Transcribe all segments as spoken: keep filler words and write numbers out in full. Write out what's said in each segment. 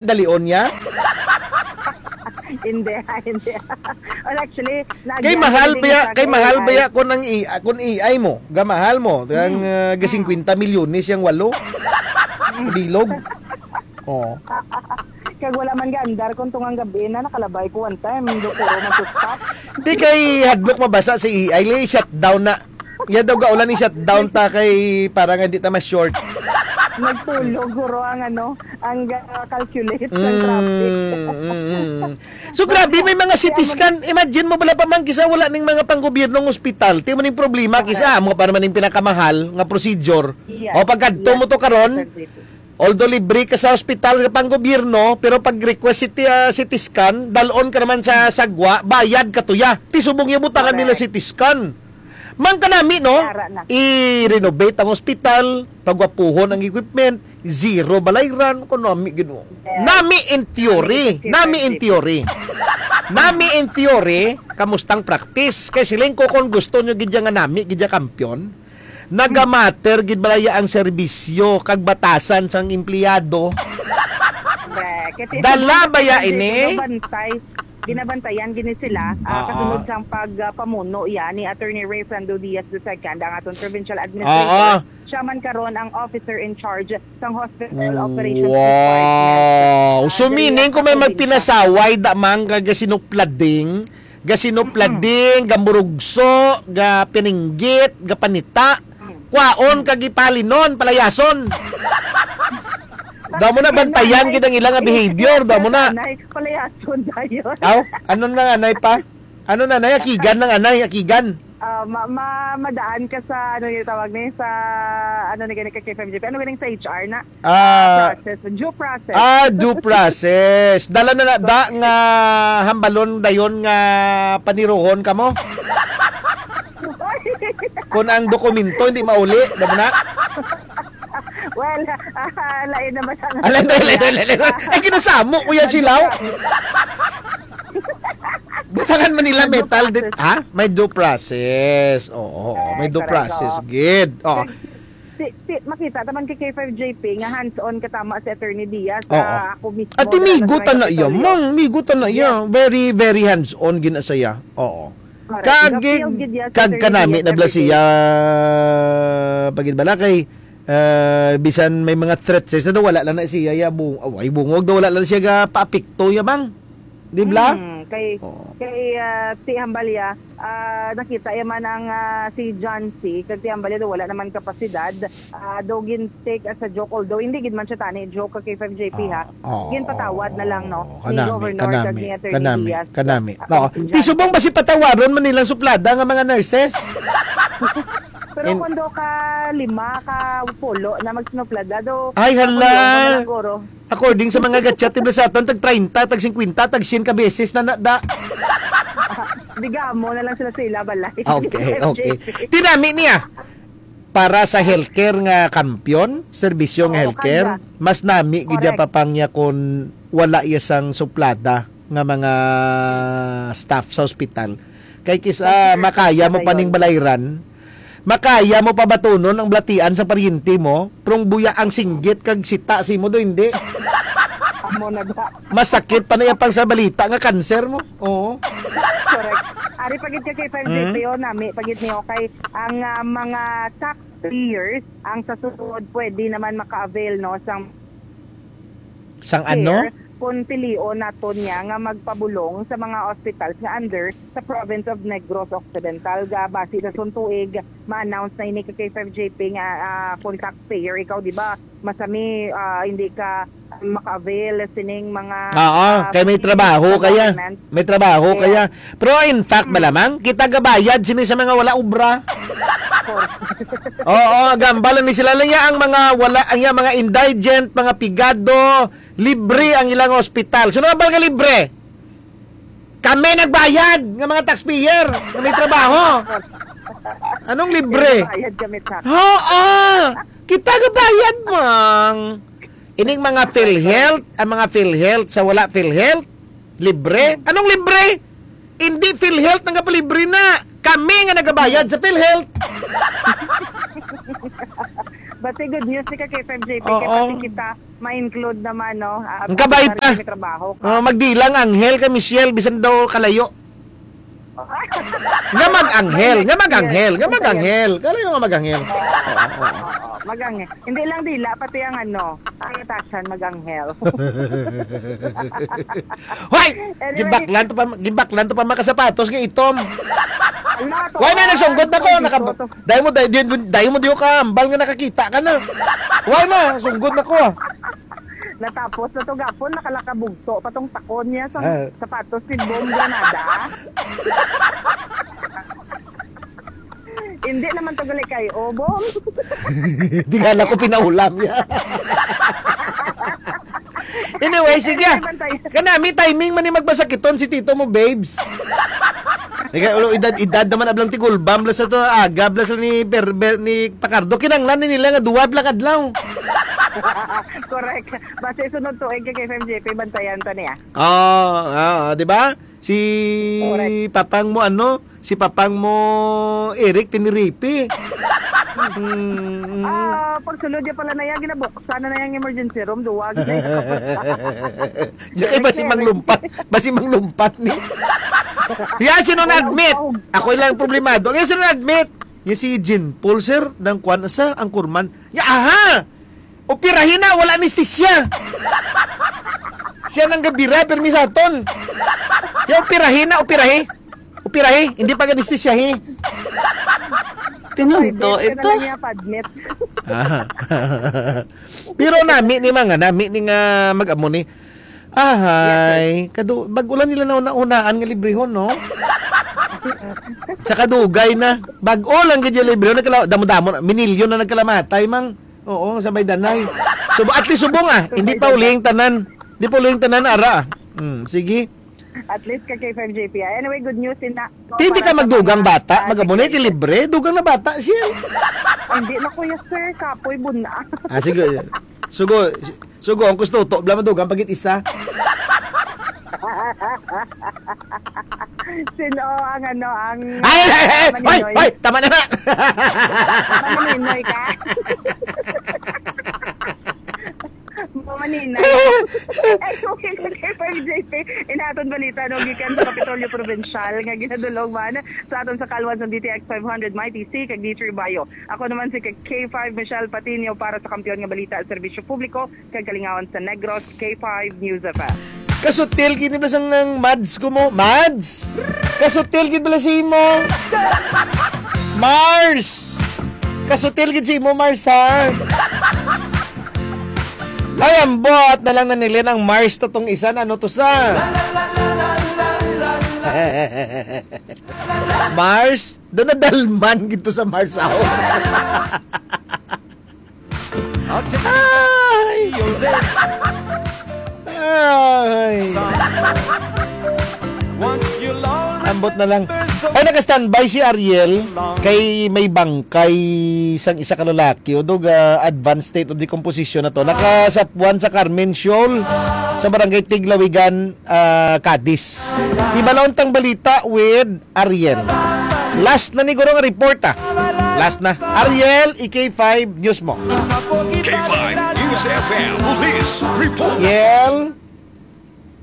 Dalion niya? Hindi, hindi. Well, actually, kay mahal ba ya, kay mahal ba ya kung ang i-, kung A I mo, gamahal mo, ang, ah, ga singkwenta milyones yang walo? Bilog. Oh. Kag wala man gaandar kung tungang gabi na, nakalabay ko one time, doktor, man to stop. Di kay hadlok mabasa si A I, li shutdown na. Ya daw gaulan ni shutdown ta kay para nga di ta ma-short. Nagtulog, guro, ang ano, ang, ah, calculate ng traffic. Mm, mm, mm. So, grabe, may mga C T scan. Imagine mo, bala pa man kisa wala ning mga panggobyernong ospital. Ti mo ning problema, kisa amo pa naman ning pinakamahal nga procedure. Yes. O, pagkadto mo to karon, although libre ka sa ospital nga panggobyerno, pero pag request C T, ah, C T scan, dalon ka naman sa sagwa, bayad ka tuya. Ti subong ya butangan nila C T scan. Man kanami, no? I-renovate ang ospital, pagwapuhon ang equipment, zero balayran, kanami gid, oh. Nami in theory, nami in theory. Nami in theory, kamustang practice? Kay siling ko, kung gusto nyo gid ya nga nami gid ya kampiyon, nagamatter gid bala ya ang serbisyo kag batasan sang empleyado? Correct. Kasi dala ba ya ini? Ginabantay, ginabantayan gini sila, ah, kasunod sang pag, ah, pamuno ya ni Attorney Rayfrando Diaz the second, ang aton provincial administrator. Siya man karon ang officer in charge sang Hospital Operations Department. Wow! So, meaning kung may magpinasaway, da man, ga sinuplading, ga sinuplading, ga murugso, ga pininggit, ga panita, kwaon kag ipalinon, palayason. Daw mo na bantayan gid ang ilang behavior, daw mo na. Palayason dayon. Aw, ano na nga, nay pa? Ano na, nay? Akigan ng anay, akigan. Ah, ma-, ma-, madaan ka sa, ano yung tawag na yun, sa, ano na gani ka, K five G P? Ano ganing sa H R na? Ah, process, due process. Ah, due process. Dala na na, da, nga hambalon dayon nga paniruhon ka mo? Kung ang dokumento hindi mauli, da mo na? Well, ah, lain naman ang... Ah, lain, lain, lain, lain, lain. Ay, kinasamo ko yan sila, oh. Butangan man nila metal dit, ha? May due process. Oo, oo, may due process, gid. Oo. Ti, ti, makita ta man kay K five J P nga hands-on katama si Attorney Diaz. Oo. Ah, ako mismo. At migo ta na iya, mang, migo ta na iya. Very, very hands-on gid na siya. Oo. Correct. Kag, kag kanami na bala siya, pagid bala kay, ah, bisan may mga threats, sa daw wala lang na siya, ya, bung-, away, bungog, daw wala lang siya ga paapekto, ya, bang? Di bala? Hmm, kay, kay, ah, ti Hambalya, ah, nakita ya man ang, ah, si John C, kag ti Hambalya daw wala naman kapasidad, ah, daw gin-take as a joke, although hindi gid man siya tani joke kay K five J P, ha. Ah, oo. Ginpatawad na lang, no, ni Governor kag ni Attorney Diaz. Kanami, kanami, kanami. Ah, no, ti subong ba si patawaron man nilang suplada nga mga nurses? Pero kung daw ka lima, ka pulo na magsinuplada, daw, ay, hala. Ako daw, mga guro. According sa mga gatchat, tibla sa aton, tag treinta, tag singkwenta, tag sien ka beses na na, da. Digamo na lang sila sa ila balay. Okay, okay. Tinami niya. Para sa healthcare nga kampiyon, serbisyo nga healthcare, mas nami gid ya pa pang ya kon wala ya sang suplada nga mga staff sa ospital. Kay kis-, ah, makaya mo pa ning balayran, makaya mo pa batunon ang balatian sa paryente mo, prong buya ang singgit kag sita sa imo do, hindi. Amo na da. Masakit pa na iya pang sa balita nga cancer mo. Oo. Correct. Ari pa gid ka kay K five J P, oh, nami pa gid niyo kay ang, ah, mga taxpayers ang sa sunod pwede naman maka-avail, no, sang... Sang ano? Care, kung pilion naton niya nga magpabulong sa mga hospitals nga under sa province of Negros Occidental. Ga base sa suntuig, ma-announce na ini ka K five J P nga, ah, kung taxpayer ikaw, di ba, masami, ah, hindi ka maka-avail sining mga, ah, kay may trabaho kaya. May trabaho kaya. Pero in fact, malamang, kita gabayad sini sa mga wala obra. Oo, gambal ni sila lang ya ang mga wala, ang ya mga indigent, mga pigado, libre ang ilang ospital. So, nabal nga libre? Kami nagbayad nga mga taxpayer nga may trabaho. Anong libre? Bayad kami tax. Oo. Kita gabayad, mang. Ining mga PhilHealth, ang mga PhilHealth sa wala PhilHealth, libre. Anong libre? Hindi PhilHealth nagapalibre na. Kami nga nagabayad sa PhilHealth. Bati, good news ni ka kay five J P, kay Oo. pati kita ma-include naman, no? Ah, Ang kabay pati pa. May trabaho ka. Oh, magdilang anghel ka, Michelle, bisan daw kalayo. Nga mag-anghel, nga mag-anghel, nga mag-anghel. Kalayo nga mag-anghel. Oo, oo, oo. Mag-anghel. Hindi lang dila, pati ang ano, ang atasan mag-anghel. Hoy! Anyway. Gibaklan to pa, gibaklan to pa makasapatos nga itom. Ala, to, Why na ah, nagsunggot na ko? ito, Naka, ito, ito. Dahil mo, dahil, dahil, dahil mo di ko kaambal nga nakakita ka na. Why na? Sunggot na ko, ah. Natapos na to gapon, nakalakabugto pa tong takon niya sa Ah. sapatos si Bom Granada. Hindi naman to gali kay Obong. Di nga na ko pinaulam niya. Anyway, sige. Ay, bantay. Kanami, timing man ni magpasakiton si tito mo, babes. Ika, ulo, edad, edad naman ablang tigulbam, bla sa to, aga, bla sa ni, Ber, Ber, ni Pacardo. Kinanglan ni nila nga duwa, bla kadlaw. Correct. Basta sunod tuig kay F M J P, bantayan ta niya. Oo, oo, di ba? Si Correct. Papang mo, ano? Si Papang mo, Eric, tiniripi. Mm, mm. Ah, pagsulod niya pala na yan, ginabuksan na na yung emergency room, duwag na yung Di kay basi manglumpat, basi manglumpat ni. Yan, sino na-admit? Ako lang problemado. Yan, sino na-admit? Yan si Jean Paul, sir, ng kwan sa Anchorman. Ya, aha! Operahin na, wala anesthesia. Siya nang gabira, permi sa aton. Ya, operahin na, operahi. Operahi, hindi pag anesthesia, he. Tinunto Pwede, ito. Kailangan niya pa-admit. Ah. Pero nami ni mga, nami ni nga mag-amo ni. Ahay, kadu, bag-o lang nila na una-unaan nga librehon, no? Tsaka dugay na. Bag-o lang gid yung librehon, nagkala-, damo-damo na, minilyon na nagkalamatay, mang. Oo, sabay danay. So, at least subong, ah. Hindi pa uling tanan. Hindi pa uling tanan, ara. Hmm, sige. At least ka kay five J P. Anyway, good news in na. Hindi ka magdugang bata, mag-amo na kay libre, dugang na bata siya. Hindi na, kuya, sir, kapoy buna. Ah, sige. Sugo, sugo, ang gusto to, bla madugang pagit isa. Sino ang ano, ang Ay, ay, ay, ay, ay, maninoy? Ay, tama na na. Maninoy ka? Manina. Ay, okay, okay, five J P. Inaton balita, no, gikan sa Kapitolyo Provincial nga ginadulong man sa aton sa Kalwan sa D T X five hundred, Mighty C, kag D three Bayo. Ako naman si K five Michelle Patino para sa Kampiyon nga Balita, Serbisyo Publiko, kag Kalingawan sa Negros, K five News F M. Kasutil gid ni bala sang ang Mads ko mo. Mads! Kasutil gid bala si mo. Mars! Kasutil gid si mo, Mars, ha? Ay, ambot na lang nanilin ang Mars to tong isa na, ano to sa? Mars? Doon na dalman gid to sa Mars, aho. Ay! Ay! Ambot na lang. Ay, naka-standby si Ariel kay may bangkay sang isa ka lalaki. Udog, ah, advanced state of decomposition na to. Nakasapuan sa Carmen Shoal sa barangay Tiglawigan, ah, Cadiz. Ibalon tang balita with Ariel. Last na ni guro nga report, ah. Last na. Ariel, i K five News mo. K five News F M Police Report. Ariel.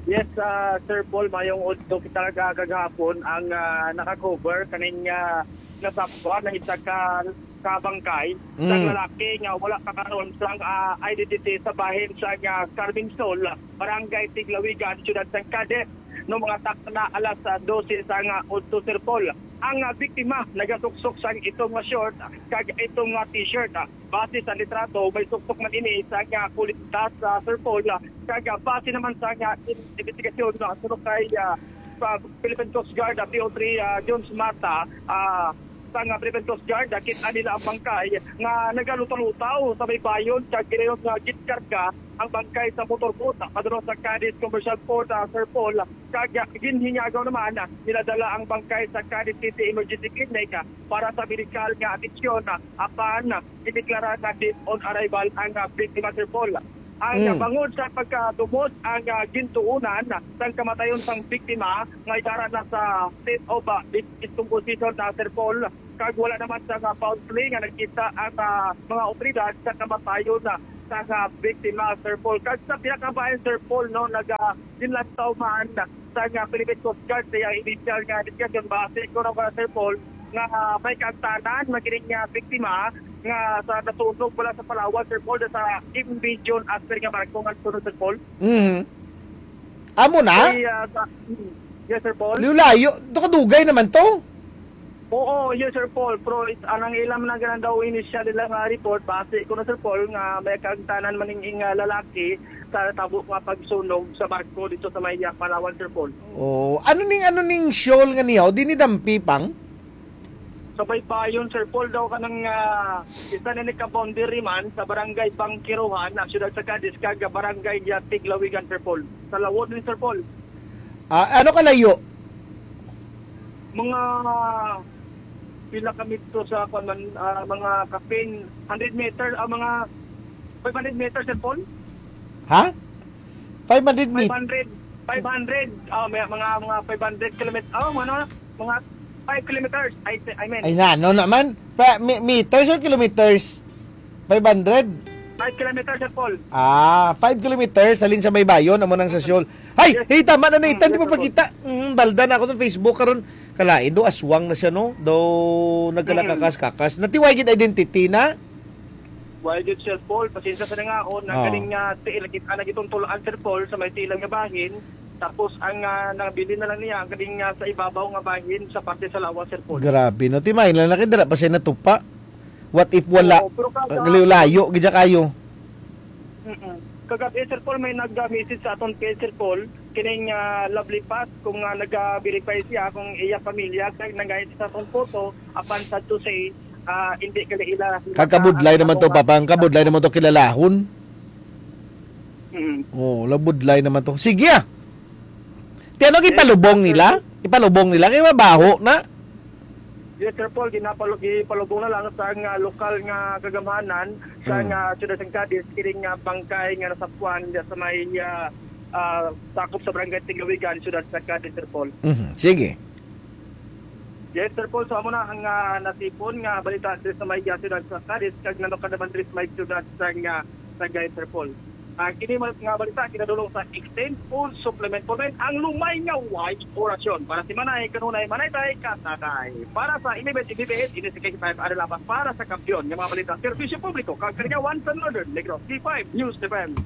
Yes, ah, Sir Paul, mayong udto kita kag-, kagahapon ang, ah, naka-cover kaning, ah, nasapwa na isa ka, ka bangkay sa Mm. lalaki nga wala pa karon sang, ah, identity sa bahin sa, ah, Carmen Shoal, Barangay Tiglawigan, Siyudad sang Cadiz, no, mga takna alas, ah, dose sa nga udto, Sir Paul. Ang, ah, biktima nagasuksok sang itom nga short kag itom nga t-shirt. Ah, base sa litrato, may suksok man ini sa nga kulitas, ah, Sir Paul, ah, kag, ah, base naman sa nga in-, investigasyon, ah, suno kay, ah, sa Philippine Coast Guard, ah, P O three, ah, Jones Mata, ah, sa nga Philippine Coast Guard, ah, kita nila ang bangkay nga nagalutaw-lutaw sa may bayon, kag ginayon nga ginkarga ang bangkay sa motorboat, ah, padulong sa Cadiz Commercial Port, ah, Sir Paul, kag, ah, ginhinyago naman, ah, niladala ang bangkay sa Cadiz City Emergency Clinic, ah, para sa medikal nga atensyon, ah, apan, ah, gideklara nga dead on arrival ang, ah, biktima, Sir Paul. Ang, ah, Mm. bangod sa pagkadumot, ang, ah, gintuunan, ah, sang kamatayon sang biktima nga idara na sa state of, ah, dis-, discomposition na, Sir Paul, Kag wala naman sa nga foul play nga nakita ang, ah, mga otoridad sa kamatayon na sa nga biktima, Sir Paul. Kag sa pinakabayan, Sir Paul, no, naga-, ginlantaw man sa nga Philippine Coast Guard sa iyang initial nga investigasyon. Base ko na, Sir Paul, nga may kaangtanan man kining nga biktima nga sa nasunog wala sa Palawan, Sir Paul, sa Imbijon Aster nga barko nga sunod, Sir Paul. Mhm. Amo na? Kay, ah, sa, mm, yes, Sir Paul. Layo-layo. Dugay naman to. Oo, yes, Sir Paul. Pero it, anang ilam na ganang daw initial nila nga report, base ko na, Sir Paul, nga may kaangtanan man ning, ah, lalaki sa tabo nga pagsunog sa barko dito sa may, ah, Palawan, Sir Paul. Oh, ano ning, ano ning shoal nga niya? O, di ni dampi pang? Sa Baybayon, Sir Paul, daw kanang, ah, isa na ni ka-boundary man sa barangay Bangkiruhan, ang siyudad sa Cadiz, kag barangay, ah, Tiglawigan, Sir Paul. Sa lawod ni, Sir Paul. Ah, ano kalayo? Mga pila ka metro sa, kwan man, ah, mga kapin, hundred meter, ah, mga five hundred meter, Sir Paul? Ha? five hundred meter. Five hundred, five hundred, ah, may mga, mga five hundred kilometers, oh, ano, mga five kilometers, I, I mean, Ay na, ano naman? Pa, mi- meters or kilometers? five hundred? Five kilometers, Sir Paul. Ah, five kilometers, halin sa Baybayon, amo nang sa shoal. Ay, Yes. hey, tama na, Nathan, di Yes, pa sir. Pagkita. Mm, balda na ako sa Facebook karon. Kalain do, aswang na siya, no? Do, nagkalakakas-kakas. Natiway gid identity na? Why gid, Sir Paul? Pasensya sa nangaon, na Oh. galing nga tiil, kita na gitong tulaan, Sir Paul, sa may tiilan nga bahin. Tapos ang, ah, nabilin na lang niya, ang galing nga sa ibabaw nga bahin, sa parte sa lawas, Sir Paul. Grabe, no? Timahin lang na kayo, dira pa siya natupa. What if wala? Oo, pero kada- Layo-layo, gidya kayo. Mm-mm. Kagabi, Sir Paul, may nag-message sa aton page, Sir Paul, kining, ah, Lovely Pass, kung, ah, nag-verify siya kung iya pamilya, kag nag-, sa atong photo, apan sad to say, ah, hindi kala ila. Kagkabudlay naman to, Papa. Ang kabudlay naman to kilalahon. Mm. Oh, labudlay naman to. Sige, ah. Ti ano, ipalubong nila? Ipalubong nila? Kaya mabaho na. Yes, Sir Paul, ginapalo-, gipalubong na lang sa nga lokal nga kagamhanan sa Mm. nga siyudad sang Cadiz, kining nga bangkay nga nasapwan diya sa may, ah, ah, sakop sa barangay Tigawigan, siyudad sa Cadiz, Sir Paul. Mhm. Sige. Yes, Sir Paul, so amo na ang, ah, natipon nga balita diri sa may, ah, siyudad sa Cadiz, kag nano ka naman diri sa may siyudad sa nga Sagay, Sir Paul. Ah, kini man nga balita kinadulong sa Extend Food Supplement Formen, ang lumay nga white orasyon. Para si Manay, kanunay, Manay Tay, Katatay. Para sa M B S, M B S, ini si K five Adelapas para sa kampiyon nga mga balita, serbisyo publiko, kag Kaligawan sa Northern Negros, C five News F M.